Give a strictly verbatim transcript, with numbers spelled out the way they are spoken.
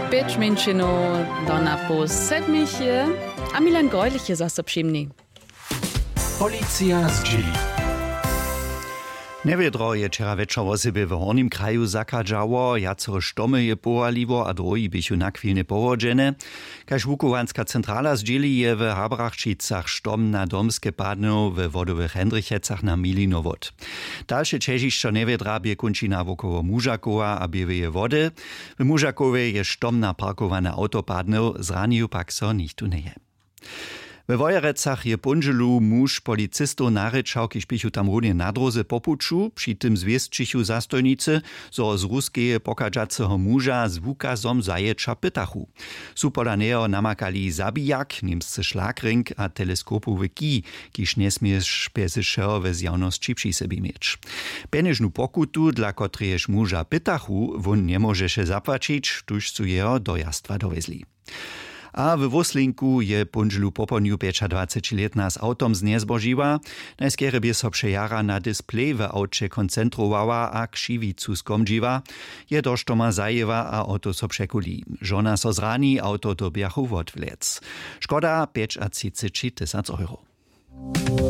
Pěć mjeńšinow do na poł sedmich je, a milan grojlich je zaso přimni. Policija zdźěli. Njewědro je wčera wječor wosebje w hornim kraju zachadźało, wjacore štomy je powaliło a dróhi běchu nachwilnje powodźene. Kaž wuchowanska centrala zdźěli, je w Habrachčicach štom na domske padnył, we wodowych hendrichecach na milinowot. Dalše ćežišćo njewědra bě kónčina wokoło mužakowa a běłeje wody. W mužakowje je štom na parkowane awto padnył, zranił pak so nichtó njeje. We wojerecach je póndźelu muž policistow narěčał, kiž běchu tam runje na dróze po puću. Při tym zwěsćichu zastojnicy, zo z ruskeje pochadźaceho muža z wukazom zajěća pytachu. Su pola njeho namakali zabijak, němscy šlagrink a teleskopowy kij, kiž njesměješ bjez wšeho we zjawnosći při sebi měć. Pjenježnu pokutu, dla kotrejež muža pytachu, wón njemóžeše zapłaćić, tuž su jeho do jastwa dowjezli. A w wóslinku je póndźelu popołdnju pjećadwacećilětna z awtom znjezbožiła. Najskerje bě so přejara na displej w awće koncentrowała a křiwicu skomdźiła. Je do štoma zajěła a awto so překuli. Žona so zrani, awto dyrbjachu wotwlec. Škoda pjećatřiceći tysac euro.